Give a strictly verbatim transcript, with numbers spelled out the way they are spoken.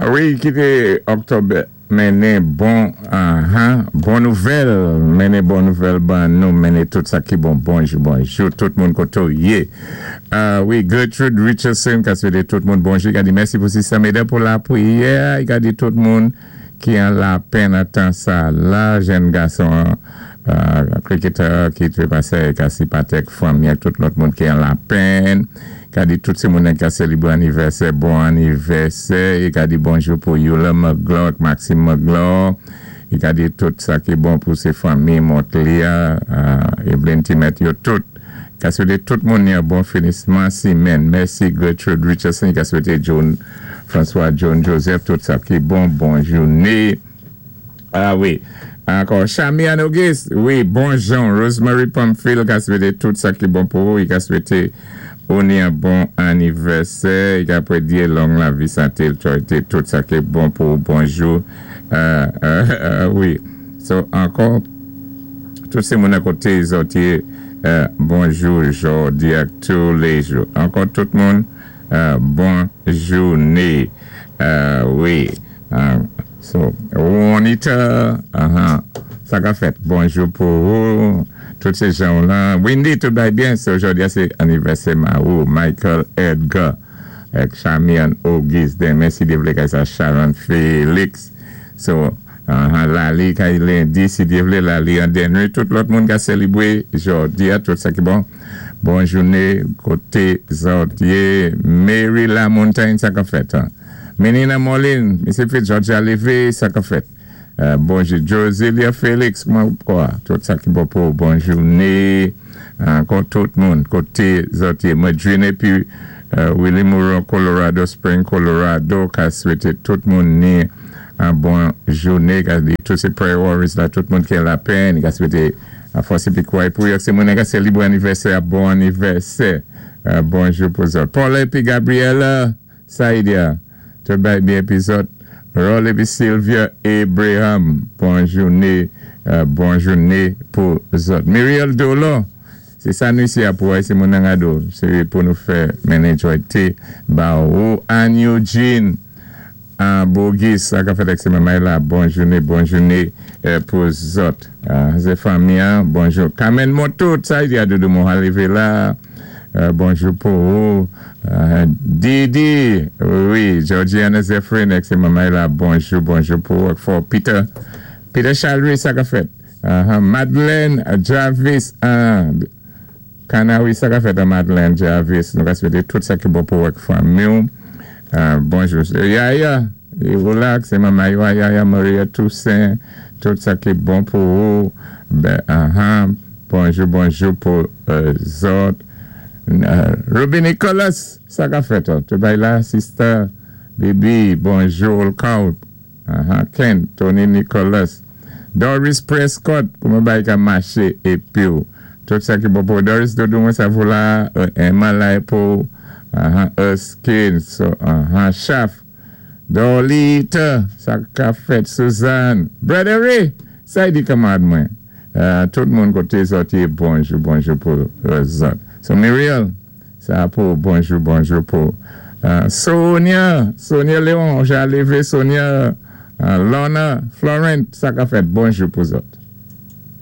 Wi, kité Oktòb mennen bon, uh bon nouvèl, mennen bon nouvèl ban nou, mennen tout sa ki bon, bonjou, bonjou, tout moun koté ou yé. Uh, wi, Gertrude Richardson, ka swété tout moun bonjou, i ka di mèsi pou Sister Meda pou lapriyè, i ka di tout moun ki an lapenn an tan sa la, jenn gason, uh, cricketer ki trépasé, ka sipatè fanmi, tout lòt moun ki an lapenn, ka di tout sé moun ka sélibwé anivèsè, bon anivèsè, i ka di bonjou pou Yula McGlaw, Maxime McGlaw, i ka di tout sa ki bon pou sé fanmi Montlia, uh, Evelyn Timet, yo tout, ka swété tout moun yon bon finisman simenn. Mèsi Gertrude Richardson, ka swété John, François John Joseph, tout sa ki bon, bon jouné. Ah wi, ankò, Chamian Auguste, wi, bonjou, Rosemary Pamphile, ka swété tout sa ki bon pou ou, i ka swété ou ni yon bon anivèsè, i ka pwédyé long lavi, santé, tout sa ki bon pou ou, bonjou, euh, euh, euh, wi. So, ankò, tout sé moun akoté zòt yé, bonjou, jòdi ak tou lé jou. Ankò, tout moun, bon jouné. Wi. So, Juanita, uh-huh, sa ka fèt. Bonjou pou ou, tout sé jan la. Wendy, tout bay byen, so jòdi a sé anivèsè ma ou, Michael Edgar, ek Chamian Auguste, denmen si Dye vlé kay sa Sharon Felix. So, uh-huh, Lali kay lendi, si Dye vlé, Lali an denwi, tout lòt moun ka sélibwé jòdi a, tout sa ki bon. Bon jouné, koté zòt yé, Mary LaMontagne, sa ka fèt. Menina Molin, Misye Fitz, Georgia Levé, sa ka fèt. Euh, bonjou, Josilia Félix, mwen kwa, tout sa ki bon pou bon jouné, ankò tout moun, koté zòt yé. Mwen jouné pi Willie Moreau, Colorado Spring, Colorado, ka swété tout moun ni an bon jouné, ka di tout sé prayer warriors la, tout moun ki lapenn, ka swété a fòs épi kouway pou yo, sé moun ka sélibwé anivèsè, a bon anivèsè, bonjou pou zòt. Paul épi Gabriela, Saidia, tout bay byen épi zòt. Roll épi Sylvia Abraham, bon jouné, bon jouné pou zòt. Muriel Dolo, sé sa nou isi a pou ay, sé moun nan gado, sé pou nou fè mennen jwayté, ba ou Ann Eugene, an Bogis, sa ka fèt ek se mamay la, bon jouné, bon jouné pou zòt. Sé fanmi an, bonjou. Carmen Motout, sa yi di a doudou moun halive la, bonjou pou ou. Didi, wi, Georgiana Zephyrin, ek se mamay la, bonjou, bonjou pou ou. For Peter, Peter Chalry, sa ka fèt. Madeleine Jarvis, Kanawi, sa ka fèt a Madeleine Jarvis. Nou ka swété tout sa ki bon pou wèk fanmi ou. Bonjou. Yaya, relax, se mamay wa, Yaya Maria Toussaint, tout sa ki bon pou ou. Bonjou, bonjou pou zòt. Ruby Nicholas, sa ka fèt. Tout bay la, sister, Bibi, bonjou, Olkaw, Ken, Tony Nicholas, Doris Prescott, kouman bay ka maché épi ou. Tout sa ki bon pou Doris, doudou mwen sa vou la, Emma la pou, Erskine, so, Chaf, Dolita, sa ka fèt, Suzanne, Brother Ray, sa yi di kamad mwen. Tout moun koté zòt yé, bonjou, bonjou pou zòt. So Muriel, sa pou, bonjou, bonjou pou Sonia, Sonia Léon, jaleve Sonia, Lorna, Florent, sa ka fèt, bonjou pou zòt.